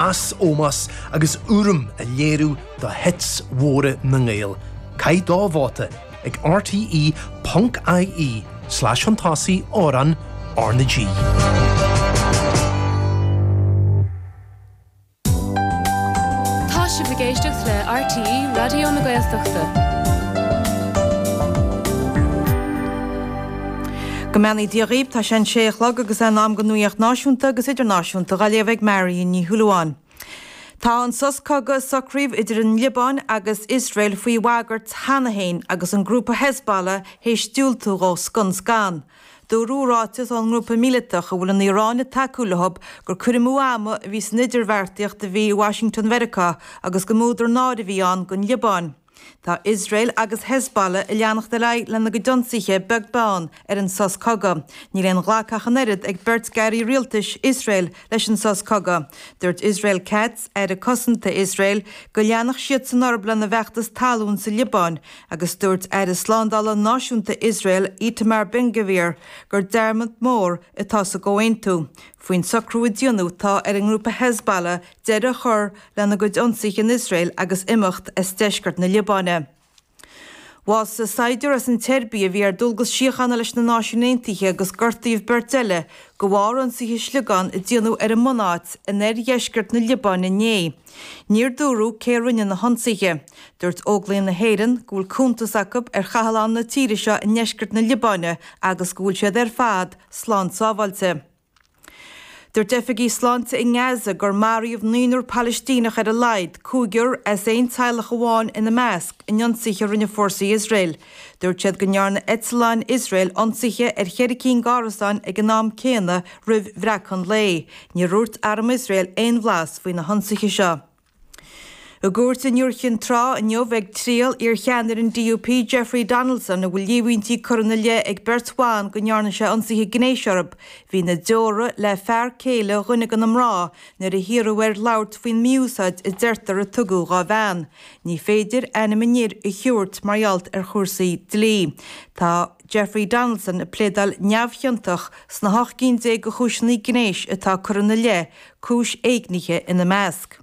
Meas, ómós agus urraim a léiriú do hits mhóra na nGael. Caith do vóta ag rte ponc ie slash chun tosaigh amhrán R na G. Tá sibh ag éisteacht le RTÉ Raidió na Gaeltachta. Go mbeannaí Dia dhaoibh, tá sé an sé a chlog agus é in am don nuaíocht náisiúnta agus idirnáisiúnta dhá léamh ag Marion Ní Shúilleabháin. Tá an sos cogaidh a socraíodh idir an Liobáin agus Iosrael faoi bhagairt cheana féin agus an grúpa Hezbollah théis diúltú dhó scun scan. Dúradh i ráiteas ón ngrúpa míleatach, a bhfuil an Iaráin ag tacú leo, gur cur amú ama a bhí san idirbheartaíocht a bhí i Washington Mheiriceá agus go mb'údar náire a bhí ann don Liobáin. Tá Iosrael agus Hezbollah ag leanacht ar aghaidh lena gcuid ionsaithe beag beann ar an sos cogaidh. Níl aon ghlacadh ach an oiread ag beirt d'airí rialtais Iosrael leis an sos cogaidh. Dúirt Israel Katz, Aire Cosanta Iosrael, go leanfadh siadsan orthu lena bhfeachtas talún sa Liobáin agus dúirt Aire Slándála Náisiúnta Iosrael Itamar Ben-Gvir gur dearmad mór atá sa gcomhaontú. Faoin socrú a déanadh tá ar an ngrúpa Hezbollah deireadh a chur lena gcuid ionsaithe in Iosrael agus imeacht as deisceart na Liobáine. Bhásaigh saighdiúir as an tSeirbia a bhí ar dualgas síochána leis na Náisiúin Aontaithe agus gortaíodh beirt eile de bharr ionsaithe sliogán a déanadh ar a mbunáit in oirdheisceart na Liobáine inné. Níor dúradh cé a rinne na hionsaithe. Dúirt Óglaigh na hÉireann go bhfuil cuntas acu ar chathlán na tíre seo i ndeisceart na Liobáine agus go bhfuil siad ar fad slán sábháilte. Dúirt oifigigh sláinte i nGaza gur maraíodh naonúr Palaistíneach ar a laghad, cúigear as aon teaghlach amháin ina measc, in ionsaithe a rinne fórsaí Iosrael. Dúirt siad go ndearna eitleáin Iosrael ionsaithe ar cheithre cinn d'árasáin ag an am céanna roimh bhreacadh an lae. Níor dhúirt arm Iosrael aon bhlas faoi na hionsaithe seo. I gcúirt in Iúr Chinn Trá inniu beidh triail iar-cheannaire an DUP Jeffrey Donaldson a bhfuil líomhaintí curtha ina leith ag beirt bhan go ndearna sé ionsaithe gnéis orthu. Bhí na deora le fear céile dhuine de na mná nuair a hiarradh air labhairt faoin mí-úsáid a deirtear a tugadh dhá bhean. Ní féidir ainm an fhir a thabhairt mar gheall ar chúrsaí dlí. Tá Jeffrey Donaldson ag pléadáil neamhchiontach sna 18 gcinn de chúiseanna gnéis atá curtha ina leith, cúis éignithe ina measc.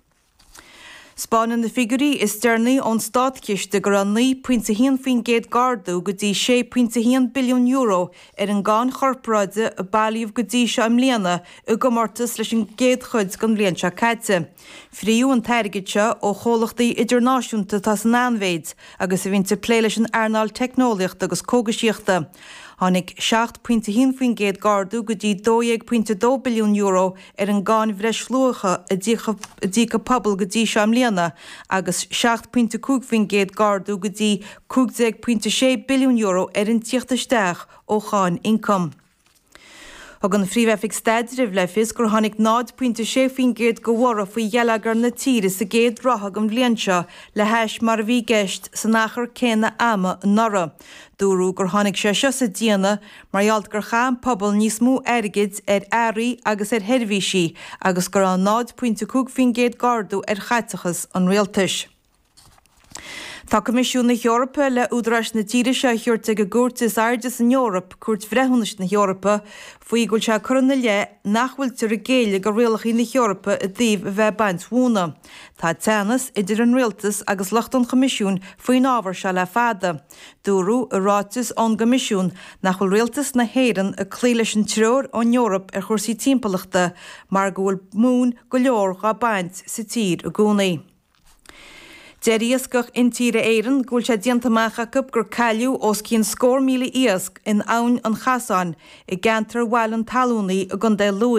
'Spáineann na figiúirí is deireanaí ón Státchiste go raibh 9.1% d'ardú go dtí €6.1 billiún ar an gcáin chorparáide a bailíodh go dtí seo i mbliana i gcomórtas leis an gcéad chuid den bhliain seo caite. Frítheadh an t-airgead seo ó chomhlachtaí idirnáisiúnta atá san an-mhéid agus a bhíonns ag plé leis an earnáil teicneolaíochta agus cógaisíochta. Tháinig 7.1% d'ardú go dtí €12.2 billiún ar an gcáin bhreisluacha a d'íoc an pobal go dtí seo i mbliana agus 7.5% d'ardú go dtí €15.6 billiún ar an tíocht isteach ó cháin ioncaim. Thug an Phríomh-Oifig Staidrimh le fios gur tháinig 0.6% de bhorradh faoi gheilleagar na tíre sa gcéad ráithe den bhliain seo le hais mar a bhí i gceist san achar céanna ama anuraidh. Dúradh gur tháinig sé seo sa déanamh mar gheall gur chaith an pobal níos mó airgid ar earraí agus ar sheirbhísí agus go raibh 0.5% d'ardú ar chaiteachas an rialtais. Tá Coimisiún na hEorpa le údaráis na tíre seo a thabhairt ag an gcúirt is airde san Eoraip, Cúirt Bhreithiúnais na hEorpa, faoi go bhfuil sé curtha ina leith nach bhfuiltear ag géilleadh do rialacha na hEorpa i dtaobh a bheith ag baint mhóna. Tá teannas idir an rialtas agus lucht an Choimisiúin faoin ábhar seo le fada. Dúradh i ráiteas ón gCoimisiún nach bhfuil rialtas na hÉireann ag cloí leis an treoir ón Eoraip ar chúrsaí timpeallachta mar go bhfuil móin go leor dhá baint sa tír i gcónaí. Deir Iascach Intíre Éireann go bhfuil sé déanta amach acu gur cailleadh os cionn scór 1,000 iasc in Abhainn an Chasáin i gceantar Bhaile an Talúnaí i gContae Lú.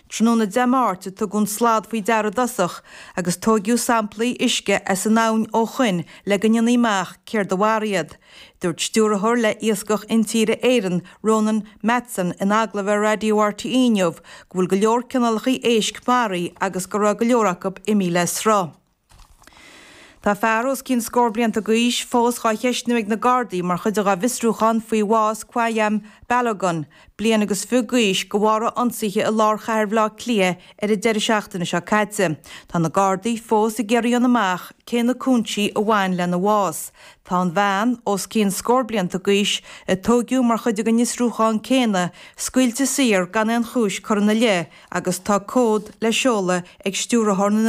Tráthnóna Dé Máirt a tugadh an slad faoi deara i dtosach agus tóigeadh samplaí uisce as an abhainn ó shoin le go ndéanfaí amach céard a mharaigh iad. Dúirt Stiúrthóir le Iascach Intíre Éireann, Ronan Matson, in agallamh ar Raidió RTÉ inniu go bhfuil go leor cineálacha éisc maraithe agus go raibh go leor acu imithe le sruth. Tá fear os cionn scór blianta d'aois fós dhá cheistniú ag na Gardaí mar chuid dhá bhfiosrúchán faoi bhás Kwaiyam Balogun, bliain agus fiche d'aois, de bharr a ionsaithe i lár chathair Bhaile Átha Cliath ar an deireadh seachtaine seo caite. Tá na Gardaí fós ag iarraidh a fháil amach cé na cúinsí a bhain lena bhás. Tá an bhean, os cionn scór blianta d'aois, a tóigeadh mar chuid den fhiosrúchán céanna, scaoilte saor gan aon chúis curtha ina leith agus tá comhad le seoladh ag Stiúrthóir na.